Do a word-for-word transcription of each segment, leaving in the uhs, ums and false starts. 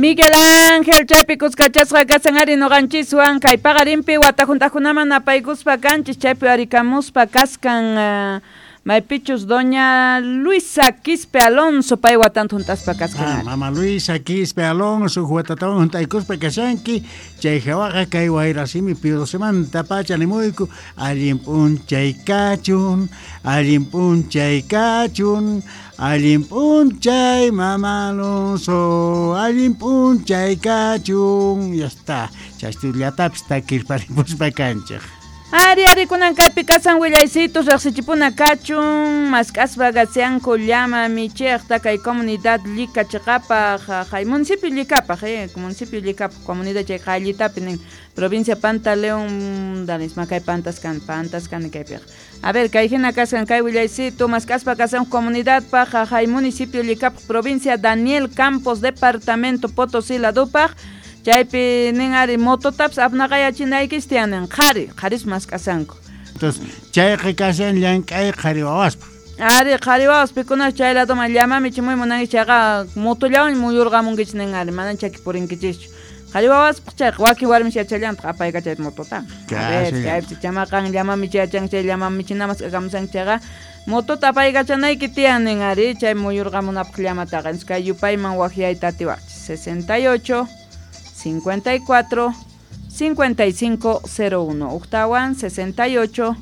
Miguel Ángel chaypi kuskachasqa kasan ari noqanchiswan kay paqarinpi watajuntaqkunaman apaykuspa kanchis chaypi arikamuspa kaskan uh, maypichus doña Luisa Quispe Alonso pay watanta juntaspa kaskan. Ah, mama Luisa Quispe Alonso watatawan juntaykuspa kashanki chay hawaqa kay wayrasimi piudosemanta pacha nimuyku allin p'unchay kachun allin p'unchay kachun allin p'unchay mama Alonso allin p'unchay kachun. Ya está, chastullatapis takirparipuspa kanchej. Ari ari kunan kaypi kasan willaysitus riqsichipuna kachun mask'aspa gasianku llama michiqta kay comunidad Llika chiqapaq hay municipio Llikapaq eh municipio Llikapaq comunidad chay qallitapi nin provincia Pantaleón danisma kay pantas kan pantas kan kaypiq. A ver kay hina kaskan kay willaysitu mask'aspa kasan comunidadpaq hay municipio Llikapaq provincia Daniel Campos departamento Potosí ladupaq. Chaypi nin ari mototapas apnaqayachinaykis tiyanin qhari, qharis mask'asanku. Entonces, chayqa kashan llank'ay qhari wawaspa. Ari qhari wawas pikunas chay ladoman llama michimuy munanki chayqa motollawan muyurqamunkichis nin ari, manan chaki purinkichischu. Qhari wawaspaq chayqa wakin warmis yachallantaq apaykachayta mototaqa. A ver, chaypi chamaqan llama michi yachanki chay llama michina mask'akamusanki chayqa motota apaykachanayki tiyan nin ari, chay muyurqamunapaq llamataqa. Entonces, kay yupayman waqyayta atiwaqchis. sesenta y ocho cincuenta y cuatro, cincuenta y cinco cero uno. Uctawan sesenta y ocho,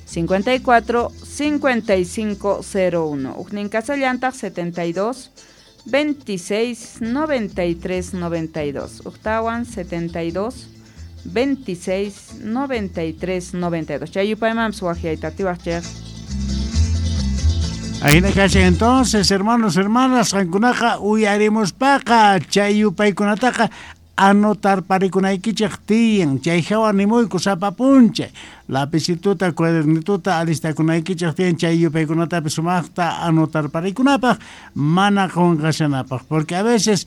cincuenta y cuatro, cincuenta y cinco cero uno. Ucnin Casallantaq setenta y dos, veintiséis, noventa y tres, noventa y dos. Uctawan setenta y dos, veintiséis, noventa y tres, noventa y dos. Chayupaymanpis waqyayta atiwaqchej. Ahina kashan entonces, hermanos, hermanas, qankunaqa uyarimuspaqa chay yupaykunataqa anotar parikunaykichej tiyan chay hawa nimuyku sapa p'unchay lapicituta cuadernituta alistakunaykichej tiyan chay yupaykunatapis sumaqta anotar parikunapaq mana qunqashanapaq porque a veces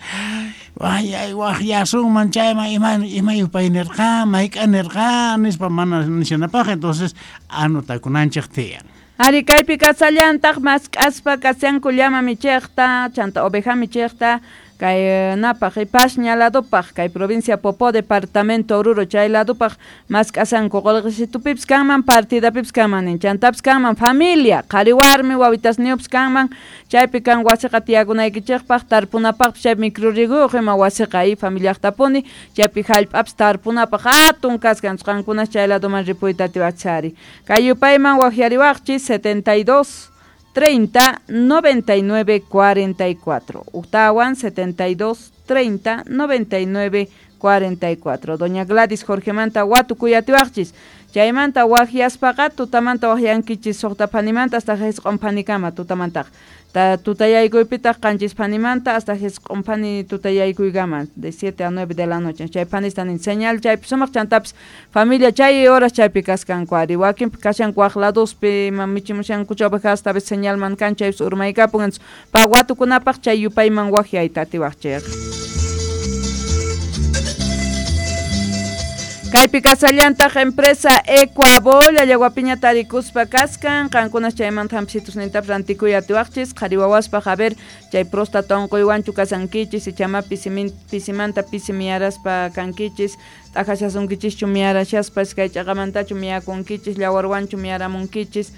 ay ay waqyasunman chayman ima ima yupay nirqan mayk'a nirqan nispa mana nishanapaq entonces anotakunanchej tiyan. Ari kaypi kasallantaq mask'aspa kasyanku llama michiqta chanta oveja michiqta kay napaq Pasña ladupaq kay provincia Popó departamento Oruro chay ladupaq mask'asanku qullqisitupipis kanman partidapipis kanman nin chantapis kanman familia qhari warmi wawitasniyupis kanman chaypi kan wasiqa tiyakunaykichikpaq tarpunapaqpis chay microrriguyuq ima wasiqa y familiaqtapuni chaypi hallp'apis tarpunapaq hatun kaskan qankunas chay laduman ripuyta atiwachari kay yupayman waqyariwaqchis setenta y dos treinta, noventa y nueve, cuarenta y cuatro. Uctawan setenta y dos, treinta, noventa y nueve, cuarenta y cuatro. Doña Gladys Jorgemanta watukuyatiwaqchis. Chaymanta waqyaspaqa tutamanta waqyankichis suqta phanimanta hasta jisq'un phanikama tutamantaqa. Ta tutayaykuypitaq qanchis phanimanta hasta jisq'un phani tutayaykuykama de siete a nueve de la noche. Chay phanista nin señal chaypi sumaq chantapis familia chay horas chaypi kaskanku ari wakinpi kashanku waq ladospi michimushanku ovejas hasta señalman kan chaypis urmaykapun entonces pa watukunapaq chay yupayman waqyayta atiwaqchik. Kaypi kasallantaq empresa Ecuabol Allahuapiña tarikuspa kaskan qankunas chaymanta hampisitusnintapis rantikuy atiwaqchis qhari wawaspaq a ver chay próstata unquywanchu kasankichis ichama pisimanta pisi miyaraspa kankichis t'aqashasunkichischu miyarashaspa iskay ch'aqamantachu miyakunkichis llawarwanchu miyaramunkichis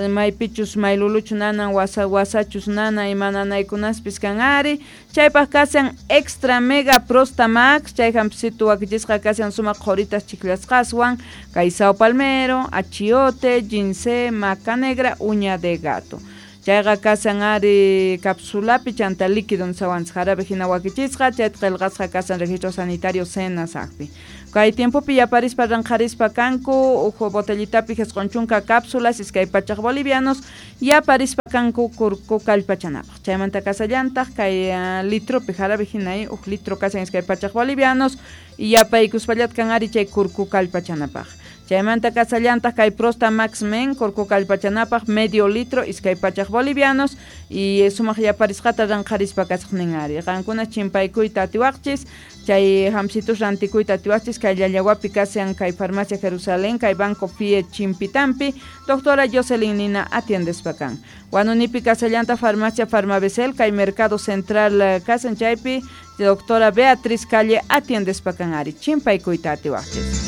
maypichus mayluluchu nanan wasa wasachus nana ima nanaykunaspis kan ari chaypaq kasan extra mega prostamax chay hampisitu wakichisqa kasan sumaq qhuritas chiklasqaswan kay sao palmero, achiote, ginseng, maca negra, uña de gato. Chayqa kasan ari capsulapi chanta líquido nsawanchis jarabe hina wakichisqa chayta qillqasqa kasan registro sanitario SENASACpi. Kay tiempopi yaparispa ranqharispa kanku uhu botellitapi jisq'un chunka cápsulas iskay pachaq bolivianos yaparispa kanku kurku kallpachanapaq. Chaymanta kasallantaq kay uh, litropi jarabe hina uj litro kasan iskay pachaq bolivianos y yapaykuspallat kan ari chay kurku kallpachanapaq. Chaymanta kasallantaq kay Prosta Max Men kurku kallpachanapaq medio litro iskay pachaq bolivianos y sumaq yaparisqata ranqharispa kasaqnin ari. Qankuna chimpaykuyta atiwaqchis, chay hamsitus rantikuyta atiwaqchis kay Llallawapi kasan kay Farmacia Jerusalén, kay Banco F I E Chimpitampi, doctora Jocelyn Nina atiendespa kan. Huanunipi kasallanta Farmacia Farmabesel, kay Mercado Central kasan chaypi, doctora Beatriz Calle atiendespa kan ari. Chimpaykuyta atiwaqchis.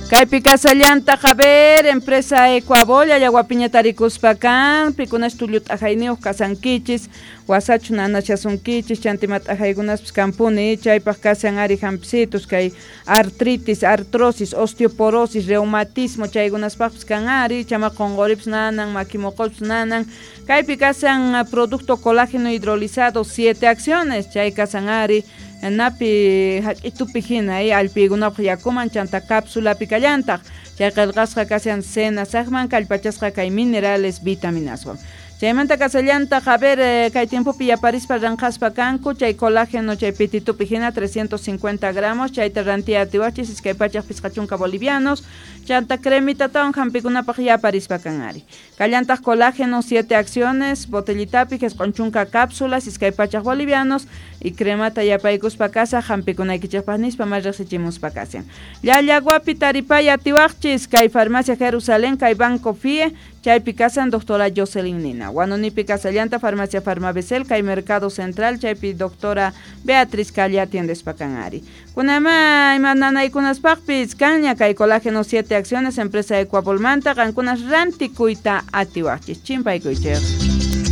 Kaypi kasallanta a ver, empresa Ecuabol, Llallawapiña tarikuspa kan, pikunas tullu t'ajayniyuq kasankichis, wasachu nanashasunkichis, chantima t'ajaykunaspis kanpuni, chaypaq kasan ari hampisitus, kay artritis, artrosis, osteoporosis, reumatismo, chaykunaspaqpis kan ari, chama qonqoripis nanan, makimoqopis nanan. Kaypi kasan producto colágeno hidrolizado, siete acciones, chay kasan ari, napi hach'itupi hina allpiykunapaq yakuman chanta cápsulapi kallantaq chay qillqasqa kashan cena saqman kallpachasqa kay minerales vitaminaswan. Chaymanta kasallantaq a ver kay tiempopi yaparispa ranqaspa kanku chay colágeno chay pititupi hina trescientos cincuenta gramos chayta rantiya atiwachis iskay pachaq pisqa chunka bolivianos chanta cremitatawan hampikunapaq yaparispa kan ari. Kallantaq colágeno siete acciones botellitapi jisq'un chunka cápsulas iskay pachaq bolivianos y cremata yapaykuspa kasa hampikunaykichikpaq nispa may riqsichimuspa kashan. Llallawapi taripay atiwaqchis kay Farmacia Jerusalén kay Banco F I E chaypi kasan doctora Jocelyn Nina. Huanunipi kasallanta Farmacia Farmabesel kay Mercado Central chaypi doctora Beatriz Calle atiendespa kan ari. Kunama ima nanaykunaspaqpis kanña kay colágeno siete acciones empresa Ecuabolmanta qankunas rantikuyta atiwaqchis. Chimpaykuychik.